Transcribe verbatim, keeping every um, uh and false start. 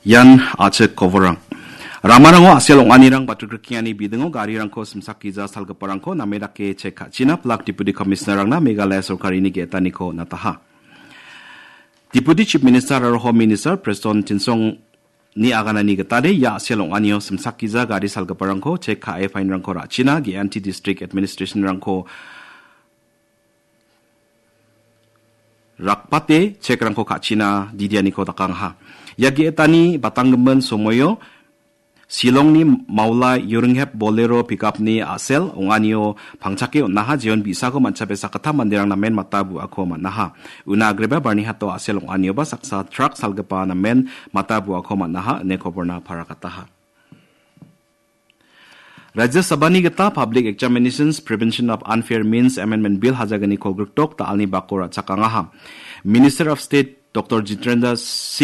Ian a·chik koborrang. Ramarango a·sel ong·anirang batrikrikkengani bidingo garirangko simsakgija salgiparangko name dake chek ka·china plak Deputy Commissioner-rangna Meghalaya sorkarini ge·etaniko nataha. Deputy Chief Minister aro Home Minister Prestone Tynsong ni aganani gitade ia a·sel ong·anio simsakgija gari salgiparangko chek ka·e fine-rangko ra·china ge·anti district administration-rangko rakbate chekrangko ka·china didianiko dakangaha. Ia ge·etani batanggimin somoio Shillongni Maula Yuringhep Bolero pickup-ni a·sel ong·anio pangchake on·aha jeon bi·sako manchabe sakgittam manderang namen mata bu·ako man·aha. Una agreba Barnihato a·sel ong·anioba saksa truck salgipa namen mata bu·ako man·aha ine koborna parakataha. Rajya Sabhani gita Public Examinations Prevention of Unfair Means Amendment Bill hajagniko grikdok da·alni bako ra·chakangaha. Minister of State Doctor Jitendra Singh